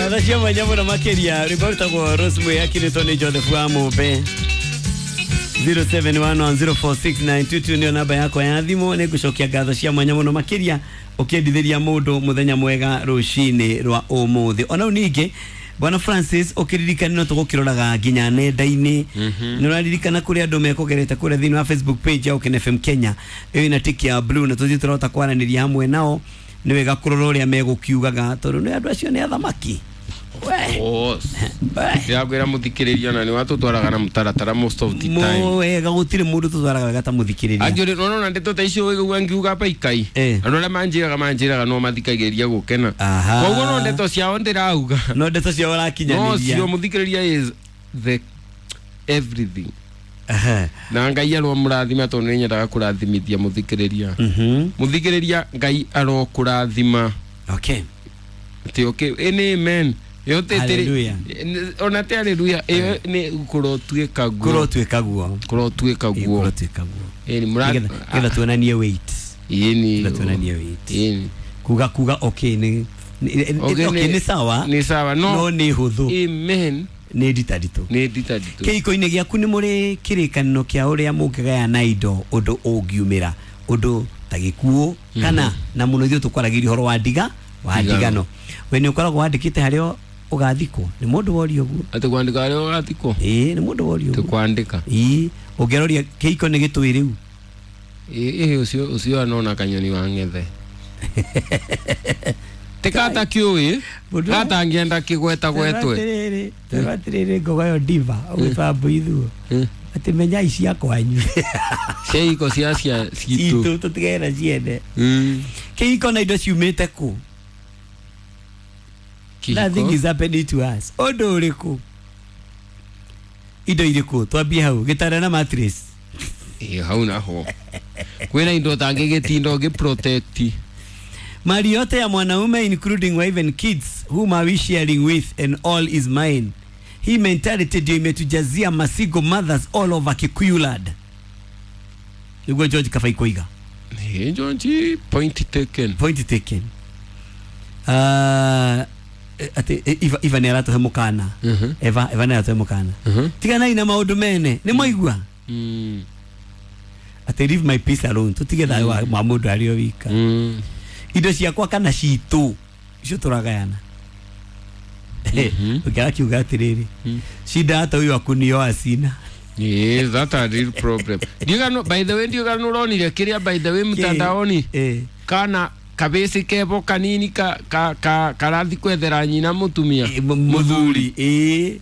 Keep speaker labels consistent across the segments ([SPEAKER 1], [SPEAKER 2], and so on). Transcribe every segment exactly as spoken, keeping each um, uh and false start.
[SPEAKER 1] Ngatho cia mwanya mũno makĩria rwĩmbo rũtagwo Rosemary akinĩtwo nĩ Joseph wa Mũmbe. zero seven one one zero four six nine two two nĩyo namba yakwa ya thimũ. Nĩ ngũcokia ngatho cia mwanya mũno makĩria ũkĩendithĩria mũndũ mũthenya mwega rũcinĩ rwa ũmũthĩ. Ona ningĩ Bwana Francis ũkĩririkana no tũgũkĩroraga nginya nenda-inĩ. Nĩ ũraririkana kũrĩa andũ mekũgerete kũrĩa thĩinĩ wa Facebook page ya Ũkene F M Kenya ĩyo ĩna tiki ya blue, na tũthiĩ tũrahota kwaranĩria hamwe nao. Nĩ wega kũrora ũrĩa megũkiugaga tondũ nĩ andũ acio nĩ athamaki.
[SPEAKER 2] Ndĩrakwĩra mũthikĩrĩria na nĩ watũtwaraga na mũtaratara most of the time.
[SPEAKER 1] Wega gũtirĩ mũndũ tũtwaraga wega ta mũthikĩrĩria.
[SPEAKER 2] Angĩ ũrona ndeto ta icio ũigua ngiuga pa ikai. Andũ arĩa manjĩraga manjĩraga no mathikagĩrĩria gũkena. Koguo no ndeto ciao ndĩrauga.
[SPEAKER 1] No ndeto ciao ũrakinyanĩria.
[SPEAKER 2] No cio mũthikĩrĩria is the everything. Na Ngai aromũrathima tondũ nĩ nyendaga kũrathimithia mũthikĩrĩria. Mũthikĩrĩria Ngai arokũrathima.
[SPEAKER 1] Okay.
[SPEAKER 2] Ati okay, any amen. Yote
[SPEAKER 1] hallelujah.
[SPEAKER 2] Ona te hallelujah iyo ni kurotuika guo.
[SPEAKER 1] Kurotuika guo.
[SPEAKER 2] Kurotuika guo.
[SPEAKER 1] Kurotuika guo.
[SPEAKER 2] Eh ni mura
[SPEAKER 1] getha tuonanie weight.
[SPEAKER 2] Ii ni
[SPEAKER 1] tuonanie weight.
[SPEAKER 2] Ii.
[SPEAKER 1] Kuga kuga okay ni okay ni sawa.
[SPEAKER 2] Ni sawa no.
[SPEAKER 1] No ni huthu.
[SPEAKER 2] Amen.
[SPEAKER 1] Ni nditadito.
[SPEAKER 2] Ni nditadito.
[SPEAKER 1] Kĩhiko-inĩ gĩaku nĩ mũrĩ kĩrĩkanĩro kĩa ũrĩa mũngĩgayana indo ũndũ ũngiumĩra ũndũ ta gĩkuũ kana na mũno ithuĩ tũkwaragĩria ũhoro wa ndiga wa ndigano. We nĩ ũkoragwo wandĩkĩte harĩa ũgathikwo nĩ mũndũ woria ũguo.
[SPEAKER 2] Atĩ kwandĩka harĩa ũgathikwo?
[SPEAKER 1] Ĩĩ nĩ mũndũ woria ũguo.
[SPEAKER 2] Tĩ kwandĩka.
[SPEAKER 1] Ĩĩ ũngĩroria kĩhiko nĩ gĩtũĩ rĩu.
[SPEAKER 2] Ĩĩ ũcio ũcio anona kanyoni wa ng'ethe. Tikata kiũĩ gatangĩenda kĩgweta gwetwe.
[SPEAKER 1] Atĩrĩrĩ atĩrĩrĩ ngogoyo diva ũgwĩtwa Mbuithuo atĩ menyai cia kwanyu.
[SPEAKER 2] Cia iko cia cia citũ.
[SPEAKER 1] Citũ tũtigere ciene. Kĩhiko na indo ciumĩte kũ? Nothing is happening to us. Ũndũ ũrĩkũ? Indo irĩkũ? Twambie hau gĩtanda na mattress.
[SPEAKER 2] Ĩĩ hau naho. Kwĩna indo ũtangĩgĩtinda ũngĩ protect.
[SPEAKER 1] Mali yote ya mwanaume including wife and kids whom are we sharing with and all is mine. Hii mentality ndio imetujazia masigo mothers all over Kikuyuland. Niguo George Kabai koiga.
[SPEAKER 2] Hey George, point taken.
[SPEAKER 1] Point taken. Uh, ati Eva Eva nĩ aratũhe mũkana. Eva Eva nĩ aratũhe mũkana. Tiganai na maũndũ mene, nĩ mwaigua?
[SPEAKER 2] Mm.
[SPEAKER 1] Ati leave my peace alone. Tutige thayũ wa mũndũ arĩ o wika.
[SPEAKER 2] Mm.
[SPEAKER 1] Indo ciakwa kana citũ icio tũragayana. Ũngĩaga kiuga atĩrĩrĩ shida hata huyu akunioa sina.
[SPEAKER 2] Yeah, that's a real problem. Ndiũgano, by the way, ndiũgano ũronire kĩrĩa by the way mtandaoni kana kabĩcĩ kebo kanini ka ka ka karathi kwethera nyina mũtumia
[SPEAKER 1] mũthuri. Ĩĩ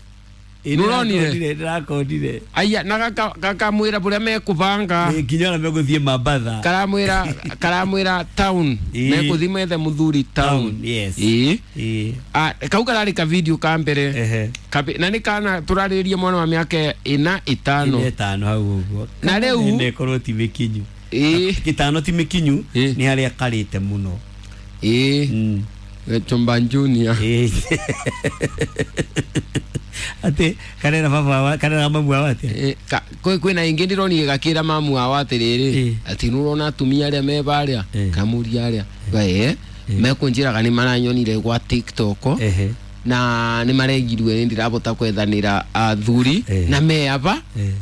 [SPEAKER 2] nĩũronire
[SPEAKER 1] ndĩrakondire.
[SPEAKER 2] Aya na gakamwĩra bũrĩa mekũbanga
[SPEAKER 1] nginya ona megũthiĩ Mambatha
[SPEAKER 2] karamwĩra karamwĩra town megũthiĩ methe mũthuri town.
[SPEAKER 1] Yes.
[SPEAKER 2] Ĩĩ
[SPEAKER 1] ĩĩ
[SPEAKER 2] kau kararĩ ka video ka mbere na nĩ kana tũrarĩrĩria mwana wa mĩaka ĩna ĩtano
[SPEAKER 1] ĩtano hau ũguo
[SPEAKER 2] na rĩu
[SPEAKER 1] nĩkorwo ti mĩkinyu.
[SPEAKER 2] Ĩĩ
[SPEAKER 1] gĩtano ti mĩkinyu nĩ harĩa karĩte mũno.
[SPEAKER 2] Ĩĩ Chomba Junior.
[SPEAKER 1] Ĩĩ ati karera baba wa karera mamu wa atia
[SPEAKER 2] kwĩna ingĩ ndĩronire gakĩra mamu wao atĩrĩrĩ atĩ nĩũrona atumia arĩa me barĩa kamũria arĩa ĩĩ mekũnjĩraga nĩ maranyonire gwa TikTok na nĩ maregirwe nĩ ndĩrabota kwethanĩra athuri na meaba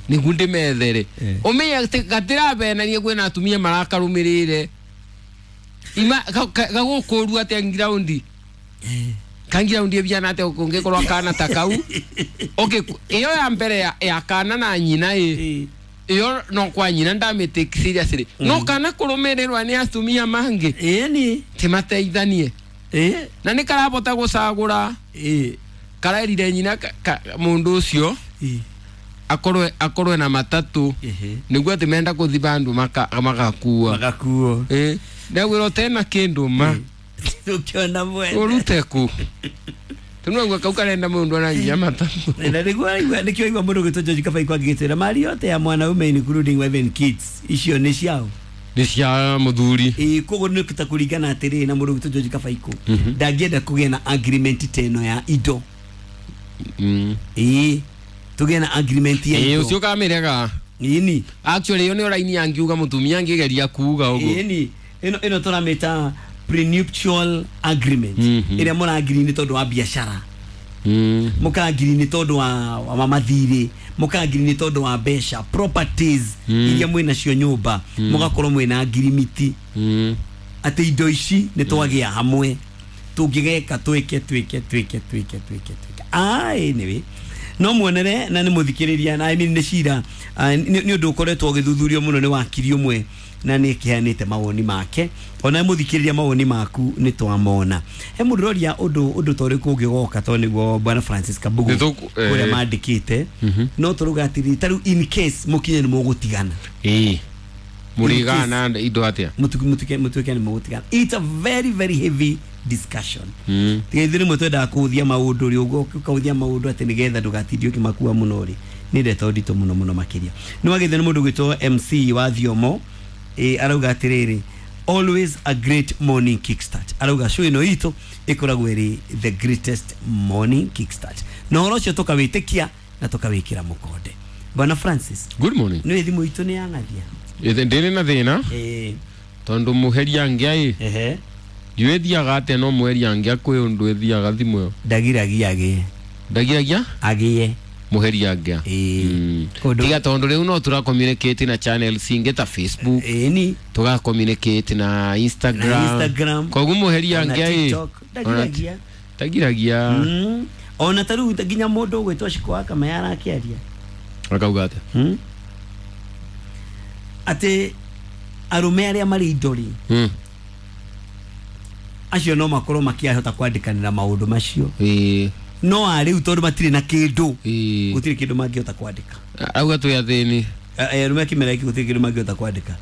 [SPEAKER 2] nĩguo ndĩmethere ũmenye atĩ gatirabenania kwĩna atumia marakarũmĩrĩre ima gagũkũru atĩa ngiraundi kangira undie biana ate ungekorwo kana ta kau okay iyo ya mbere ya, ya kana na nyina i iyo no kwa nyina ndamĩtake seriously no kana kũrũmĩrĩrwa nĩ atumia mangĩ
[SPEAKER 1] ĩni
[SPEAKER 2] timateithanie
[SPEAKER 1] ĩ
[SPEAKER 2] na nĩ karabota gũcagũra
[SPEAKER 1] ĩ
[SPEAKER 2] karerire nyina mũndũ ũcio akorwe akorwe na matatu nĩguo atĩ menda kũthi bandũ magakua
[SPEAKER 1] magakuo
[SPEAKER 2] ĩ ndagwĩra tena kĩndũ ma
[SPEAKER 1] ukiona mwene
[SPEAKER 2] urute ku tunagwa kau karenda mundu ananyia matatu
[SPEAKER 1] na niguo aigua nikio aigua mundu gwitwo George Kabai kwangĩtwĩra mali yote ya mwanaume including wife and kids icio nĩ ciao
[SPEAKER 2] nĩ cia muthuri.
[SPEAKER 1] Ĩĩ koguo nĩ ta kũringana atĩrĩ na mũndũ gwitwo George Kabai kũ ndangĩenda kũgĩa na agreement ta ĩno ya indo. Ĩĩ tũgĩe na agreement ya indo.
[SPEAKER 2] Ĩĩ ũcio kamĩrega.
[SPEAKER 1] Ĩni
[SPEAKER 2] actually ĩyo nĩyo raini angiuga mũtumia angĩgeria kuuga ũguo.
[SPEAKER 1] Ĩni ĩno ĩno tũramĩta prenuptial agreement mm -hmm. Ĩrĩa mũrangiri nĩ tondũ wa biacara mm. Mũkangiri nĩ tondũ wa, wa mathirĩ, mũkangiri nĩ tondũ wa mbeca, properties mm. iria mwĩna cio nyũmba mm. Mũgakorwo mwĩna ngirimiti mm. Atĩ indo ici nĩ twagĩa hamwe tũngĩgeka twĩke twĩke twĩke twĩke twĩke twĩke. Ah, anyway no muonere na nĩ mũthikĩrĩria na I mean nĩ cira nĩ ũndũ ũkoretwo ũgĩthuthurio mũno nĩ wakiri ũmwe na nĩ kĩheanĩte mawoni make. Ona mũthikĩrĩria mawoni maku nĩ twamona. He mũndũ ũroria ũndũ ũndũ ta ũrĩkũ ũngĩgoka to nĩguo Bwana Francis Kabugu kũrĩa mandĩkĩte no tũrauga atĩrĩrĩ ta rĩu in case mũkinye nĩ mũgũtigana
[SPEAKER 2] ĩĩ mũrigana indo atĩa
[SPEAKER 1] mũtuke mũtuke nĩ mũgũtigana. It's a very very heavy discussion. Mm. Tiga ithuĩ rĩmwe twendaga kũhũthia maũndũ rĩ ũguo ũkahũthia maũndũ atĩ nĩgetha ndũgatindie ũkĩmakua mũno rĩ nĩ ndeto nditũ mũno mũno makĩria. Nĩ wagĩthio nĩ mũndũ ũgwĩtwo M C wa Thiomo eh, arauga atĩrĩrĩ always a great morning kickstart. Arauga show ĩno itũ ĩkoragwo ĩrĩ the greatest morning kickstart. Na ũhoro ũcio tũkawĩtĩkia na tũkawĩkĩra mũkonde. Bwana Francis,
[SPEAKER 2] good morning.
[SPEAKER 1] Nĩ thimũ itũ nĩ yang'athia
[SPEAKER 2] ndĩrĩ na thĩna
[SPEAKER 1] eh
[SPEAKER 2] tondũ mũheria ngĩa ĩ
[SPEAKER 1] ehe
[SPEAKER 2] ndiwethiaga atĩa no mũheria ngĩa kwĩ ũndũ ĩthiaga thimũ ĩyo
[SPEAKER 1] ndagiragia agĩe
[SPEAKER 2] ndagiragia
[SPEAKER 1] agĩe
[SPEAKER 2] mũheria ngĩa
[SPEAKER 1] ĩĩ
[SPEAKER 2] tiga tondũ rĩu no tũra communicate na channels ingĩ ta Facebook
[SPEAKER 1] ĩni
[SPEAKER 2] tũga communicate na Instagram
[SPEAKER 1] na Instagram
[SPEAKER 2] koguo mũheria ngĩa ĩ
[SPEAKER 1] ndagiragia
[SPEAKER 2] ndagiragia
[SPEAKER 1] ona ta rĩu nginya mũndũ ũgwĩtwo Shiko wa Kamaya arakĩaria
[SPEAKER 2] akauga atĩa
[SPEAKER 1] atĩ arũme arĩa marĩ indo rĩ acio no makorwo makiahota kwandĩkanĩra maũndũ macio
[SPEAKER 2] ĩĩ
[SPEAKER 1] no arĩu tondũ matirĩ na kĩndũ
[SPEAKER 2] ĩĩ
[SPEAKER 1] gũtirĩ kĩndũ mangĩhota kwandĩka
[SPEAKER 2] auga twĩ athĩni
[SPEAKER 1] arũme kĩmera gĩkĩ gũtirĩ kĩndũ mangĩhota kwandĩka.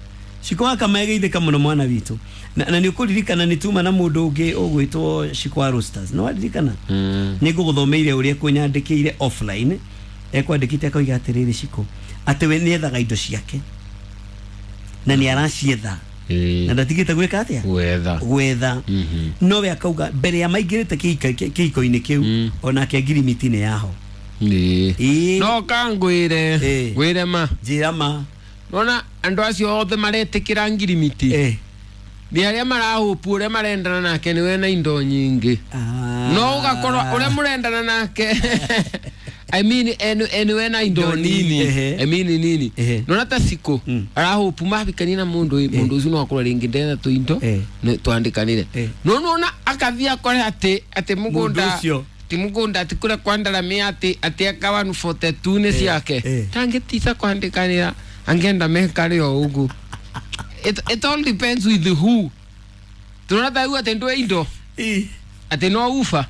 [SPEAKER 1] Shiko wa Kamaya geithĩka mũno mwana witũ na, na nĩ ũkũririkana nĩ tuma na mũndũ ũngĩ ũgwĩtwo Shiko wa Roasters no waririkana
[SPEAKER 2] mm.
[SPEAKER 1] Nĩ ngũgũthomeire ũrĩa ekũnyandĩkĩire offline ekwandĩkĩte akoiga atĩrĩrĩ Shiko atĩ we nĩethaga indo ciake na nĩ aracietha na ndatigĩte gwĩka atĩa
[SPEAKER 2] gwetha
[SPEAKER 1] gwetha no we akauga mbere ya maingĩrĩte kĩhiko-inĩ kĩu onake ngirimiti nĩ yaho
[SPEAKER 2] ĩĩ no kangwĩre ngwĩre ma
[SPEAKER 1] njĩra ma
[SPEAKER 2] nona andũ acio othe maretĩkĩra ngirimiti nĩ arĩa marahũpu ũrĩa marendana nake nĩwe na indo nyingĩ no ũgakorwo ũrĩa mũrendana nake I mean enu enu ena indo nini I mean nini nona ta Siko arahopu mabikani na mundu mundu ucio no akorwo ringi ndetha tu indo twandikanire no nona akathia akore ati ati mugunda ti mugunda ati kura kwandaramia ati ati akawa forty-two ni ciake tangitisa kwandikanira angenda mekare o ugu. It it all depends with the who tunona ta ati ndwe indo ati no ufa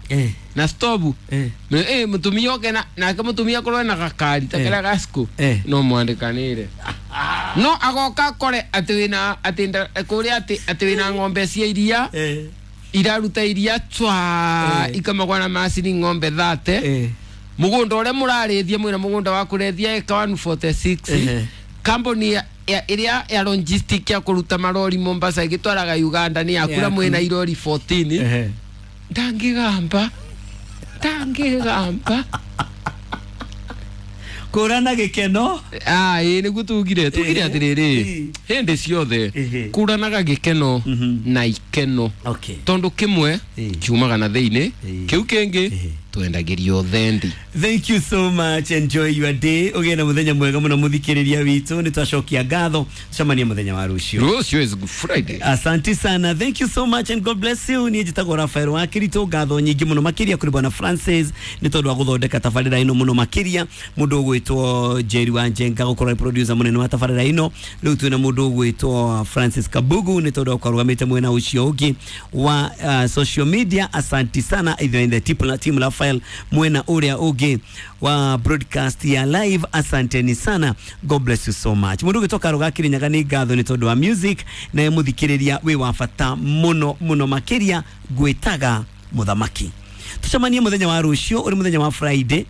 [SPEAKER 2] na stobu eh eh mutumia oke na nake mutumia akorwo na gakari ta kara gasco no mwandikanire no agoka akore ati wina ati kuria ati ati wina ng'ombe cia iria iraruta iria twa ikamagwa na macini ng'ombe thate mugunda uria murarithia mwina mugunda wa kurethia eka one forty-six company ya iria ya logistic ya kuruta marori Mombasa igitwaraga Uganda ni yakura mwina irori fourteen ndangigamba ndangigamba
[SPEAKER 1] kurana gikeno
[SPEAKER 2] ah ĩ nĩguo tugire tugire atĩrĩrĩ hĩndĩ ciothe kuranaga gĩkeno na ikeno tondu kimwe kiumaga na thĩinĩ kĩu kĩngĩ twendagĩrio thendi.
[SPEAKER 1] Thank you so much, enjoy your day. Ũgĩe na mũthenya mwega mũno mũthikĩrĩria witũ nĩ twacokia ngatho tucemanie mũthenya wa rũciũ.
[SPEAKER 2] Rũciũ is Good Friday.
[SPEAKER 1] Asante sana, thank you so much and God bless you. Niĩ njĩtagwo Rafael wa Kirito, ngatho nyingĩ mũno makĩria kũrĩ Bwana Francis nĩ tondũ wa gũthondeka tabarĩra ĩno mũno makĩria mũndũ ũgwĩtwo Jerry wa Njenga gũkorwo producer mũnene wa tabarĩra ĩno. Rĩu twĩna mũndũ ũgwĩtwo Francis Kabugu nĩ tondũ wa kũrũgamĩte mwena ũcio ũngĩ wa uh, social media. Asante sana ithuĩ in the team Rafael mwena ũrĩa ũngĩ wa broadcast ya live. Asanteni sana, God bless you so much. Mundu gitoka ruga Kirinyaga ni ngatho ni tondu wa music na muthikiriria wi wa bata muno muno makiria gwitaga muthamaki. Tucemanie muthenya wa rucio uri muthenya wa Friday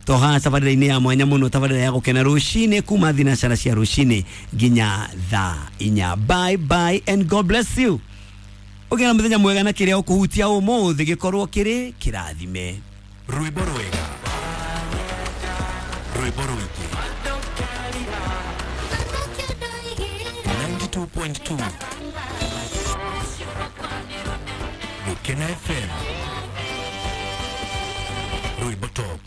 [SPEAKER 1] toha tabarira-inĩ ya mwanya muno tabarira ya gukena rucini kuma thinacara cia rucini nginya thaa inya. Bye bye and God bless you. Ugena muthenya mwega na kiria ukuhutia umuthi gikorwo kiri kirathime.
[SPEAKER 3] Rwimbo rwega, rwimbo rwiki ninety-two point two. Gukena F M Rwimbo Top.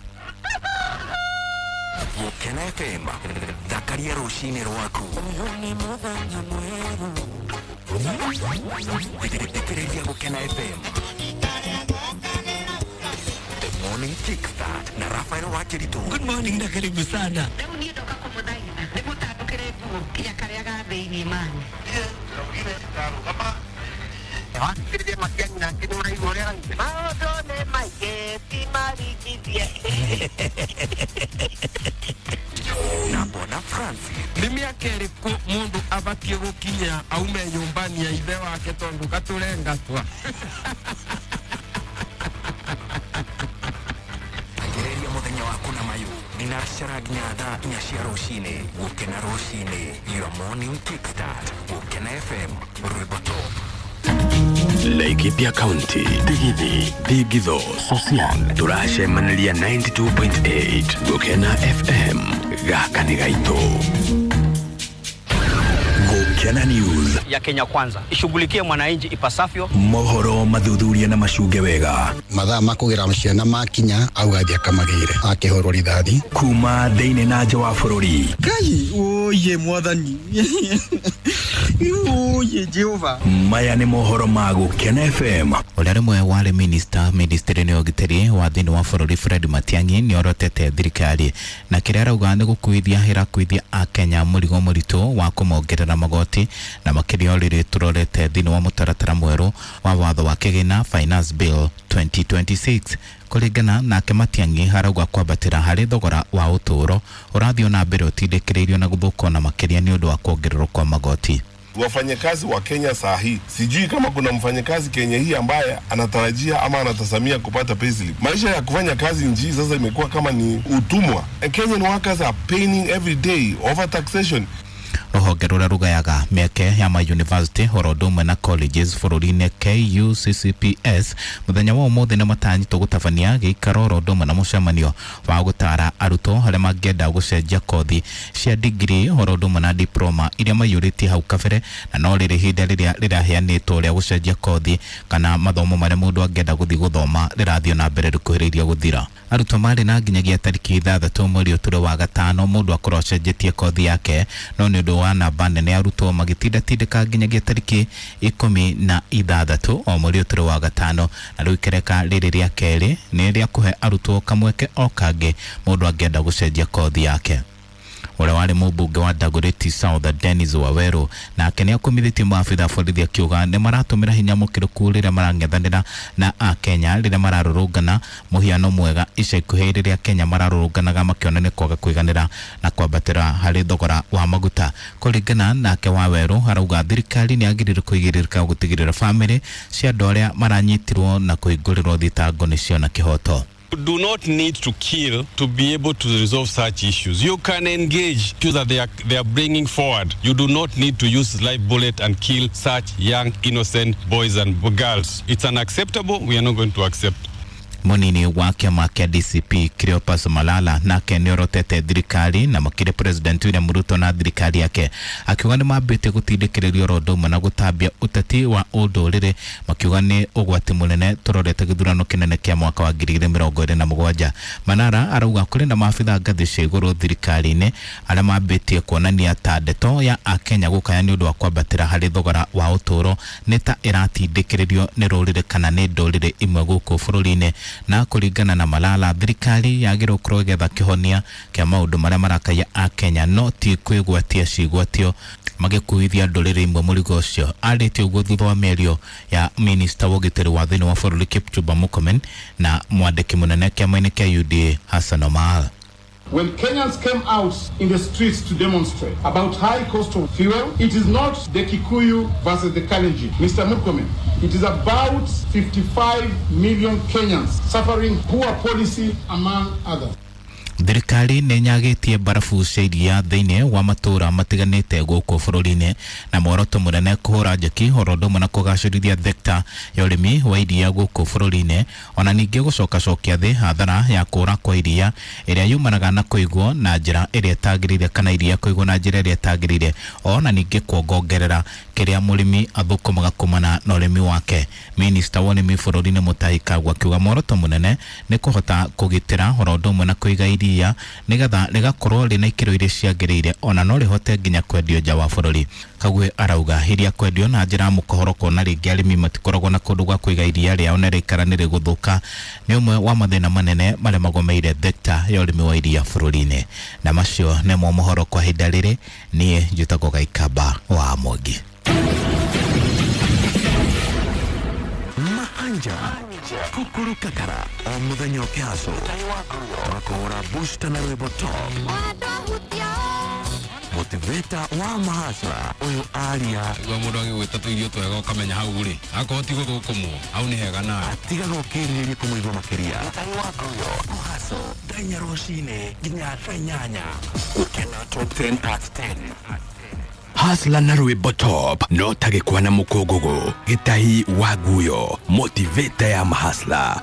[SPEAKER 3] Gukena F M thakaria rucinĩ rwaku. Thikĩrĩria Gukena F M The Morning Kickstart na Rafael Wakiritu.
[SPEAKER 1] Good morning na karibu sana.
[SPEAKER 4] Rĩu niĩ ndoka kũmũthaitha ndĩmũtandũkĩre nguo nginya karĩa ga thĩinĩ mani. Maũndũ nĩ maingĩ ti maringithie.
[SPEAKER 3] Na Bona Francis.
[SPEAKER 2] Nĩ mĩaka ĩrĩkũ mũndũ abatiĩ gũkinya aume nyũmba-inĩ ya ithe wake tondũ gatũrengatwa?
[SPEAKER 3] Anjĩrĩria mũthenya waku na mayũ thinacara nginya thaa inya cia rũcinĩ. Gũkena rũcinĩ, your morning kickstart. Gũkena F M Rwimbo Top.
[SPEAKER 5] Laikipia County, Digithi, Digitho, Social, turacemaniria ninety-two point eight Gukena F M gaka nĩ gaitũ. Gukena News
[SPEAKER 6] ya Kenya Kwanza ishughulikie mwananchi ipasavyo.
[SPEAKER 5] Mohoro mathuthuria na macunge wega.
[SPEAKER 7] Mathaa makugira ciana makinya au athia kamagire akihurwo rithathi
[SPEAKER 5] kuma thiini na nja wa bururi.
[SPEAKER 8] Kai oye mwathani oye Jehova.
[SPEAKER 5] Maya ni mohoro ma Gukena F M.
[SPEAKER 9] Ũrĩa rĩmwe warĩ minister ministry-inĩ ya ũgitĩri wa thĩinĩ wa bũrũri Fred Matiang'i nĩorotete thirikari na kĩrĩa arauga nĩ gũkuithia ĩrakuithia akenya mũrigo mũritũ wa kũmongerera magoti na makĩria rĩrĩ tũrorete thĩinĩ wa mũtaratara mwerũ wa watho wa kĩgĩna Finance Bill twenty twenty-six. Kũringana nake Matiang'i arauga kwambatĩra harĩ thogora wa ũtũũro ũrathiĩ na mbere ũtindĩkĩrĩirio na gũthũka na makĩria nĩ ũndũ wa kuongererwo kwa magoti.
[SPEAKER 10] Wafanyakazi wa Kenya saa hii, sijui kama kuna mfanyakazi Kenya hii ambaye anatarajia ama anatasamia kupata payslip. Maisha ya kufanya kazi nchi sasa imekuwa kama ni utumwa. Kenyan workers are paying every day over taxation.
[SPEAKER 9] Rũhonge rũrĩa rũgayaga mĩeke ya ma university oro ũndũ ũmwe na colleges bũrũri-inĩ K U C C P S mũthenya wa ũmũthĩ nĩ matanyĩtwo gũtabania gĩikaro oro ũndũ ũmwe na mũcemanio wa gũtara arutwo arĩa mangĩenda gũcenjia kothi cia degree oro ũndũ ũmwe na diploma iria maiyũrĩtie hau kabere, na no rĩrĩ ihinda rĩrĩa rĩraheanĩtwo rĩa gũcenjia kothi kana mathomo marĩa mũndũ angĩenda gũthiĩ gũthoma rĩrathiĩ na mbere rĩkuhĩrĩirie gũthira. Arutwo marĩ na nginyagia tarĩki ithathatũ mweri ũtũrĩ wa gatano mũndũ akorwo acenjetie kothi yake, no nĩ ũndũ wa namba nene arutwo magĩtindatindĩka nginyagia tarĩki ikũmi na ithathatũ o mweri ũtũrĩ wa gatano, na rĩu ikereka rĩrĩ rĩa kerĩ nĩ rĩa kũhe arutwo kamweke o kangĩ mũndũ angĩenda gũcenjia kothi yake. Ũrĩa warĩ mũmbunge wa Dagoretti South Dennis Waweru nake nĩ akumithĩtie maabitha borithi akiuga nĩ maratũmĩra hinya mũkĩrũku rĩrĩa marang'ethanĩra na akenya rĩrĩa mararũrũngana mũhiano mwega ica ikuhĩ rĩrĩa Kenya mararũrũnganaga makĩonania kwaga kũiganĩra na kwambatĩra harĩ thogora wa maguta. Kũringana nake Waweru arauga thirikari nĩ yagĩrĩirwo kũigĩrĩrĩka gũtigĩrĩra bamĩrĩ cia andũ arĩa maranyitirwo na kũhingũrĩrwo thitango nĩ ciona kĩhoto.
[SPEAKER 11] You do not need to kill to be able to resolve such issues. You can engage issues that they are, they are bringing forward. You do not need to use live bullet and kill such young, innocent boys and girls. It's unacceptable. We are not going to accept.
[SPEAKER 9] Munini wa kĩama kĩa D C P Cleopas Malala nake nĩorotete thirikari na makĩria President William Ruto na thirikari yake akiuga nĩ mambĩtie gũtindĩkĩrĩria oro ũndũ ũmwe na gũtambia ũteti wa ũndũrĩrĩ, makiuga nĩ ũgwati mũnene tũrorete gĩthurano kĩnene kĩa mwaka wa ngiri igĩrĩ mĩrongo ĩrĩ na mũgwanja. Manara arauga kũrĩ na maabitha ngathĩ cia igũrũ thirikari-inĩ arĩa mambĩtie kuonania ta ndeto ya akenya gũkaya nĩ ũndũ wa kwambatĩra harĩ thogora wa ũtũũro nĩ ta ĩratindĩkĩrĩrio nĩ rũrĩrĩ kana nĩ ndũrĩrĩ imwe gũkũ bũrũri-inĩ. Na kũringana na Malala thirikari yagĩrĩirwo gũkorwo ĩgĩetha kĩhonia kĩa maũndũ marĩa marakaia akenya no ti kwĩgwatia cigwatio magĩkuithia ndũrĩrĩ imwe mũrigo ũcio. Arĩtie ũguo thutha wa mĩario ya minista wa ũgitĩri wa thĩinĩ wa bũrũri Kipchumba Murkomen na mwandĩki mũnene kĩama-inĩ kĩa U D A Hassan Omar.
[SPEAKER 12] When Kenyans came out in the streets to demonstrate about high cost of fuel, it is not the Kikuyu versus the Kalenjin. Mister Murkomen, it is about fifty-five million Kenyans suffering poor policy among others.
[SPEAKER 9] Thirikari nĩ nyagĩtie mbarabu cia iria thĩinĩ wa matũũra matiganĩte gũkũ bũrũri-inĩ na muoroto mũnene kũhũra njeki oro ũndũ ũmwe na kũgacĩrithia thekta ya ũrĩmi wa iria gũkũ bũrũri-inĩ, ona ningĩ gũcokacokia thĩ hathara ya kũra kwa iria ĩrĩa yumanaga na kũigwo na njĩra ĩrĩa ĩtagĩrĩire kana iria kũigwo na njĩra ĩrĩa ĩtagĩrĩire, ona ningĩ kuongongerera kĩrĩa mũrĩmi athũkũmaga kumana na ũrĩmi wake. Minista wa ũrĩmi bũrũri-inĩ Mutahi Kagwe akiuga muoroto mũnene nĩ kũhota kũgitĩra oro ũndũ ũmwe na kũiga iria nĩgetha rĩgakorwo rĩna ikĩro iria ciagĩrĩire, ona no rĩhote nginya kwendio nja wa bũrũri. Kagwe arauga iria kwendio na njĩra ya mũkohoro kuona rĩngĩ arĩmi matikoragwo na kũndũ gwa kũiga iria rĩao na rĩikara nĩ rĩgũthũka nĩ ũmwe wa mathĩna manene marĩa magomeire thekta ya ũrĩmi wa iria bũrũri-inĩ. Na macio nĩmo mohoro kwa ihinda rĩrĩ. Niĩ njĩtagwo Gaikamba wa Mwangi.
[SPEAKER 3] Mahanja kukuru kakara o muthenya ũkĩhaco makũhũra booster na rwĩmbo top motivator wa mahasra ũyũ aria
[SPEAKER 11] gwa mũndũ agĩgwĩta tũirio twega ũkamenya hau rĩ akorwo ti gũthũkũmwo hau nĩ hega nawe
[SPEAKER 3] atigaga ũkĩrirĩria kũmũigua makĩria mũhaco thaa inya rũcinĩ nginya thaa inyanya. Gũkena top ten at ten.
[SPEAKER 5] Hasla na rwĩmbo top no tagĩkwa na mũkũngũgũ. Gĩtahi wa nguyo motivator ya mahasla.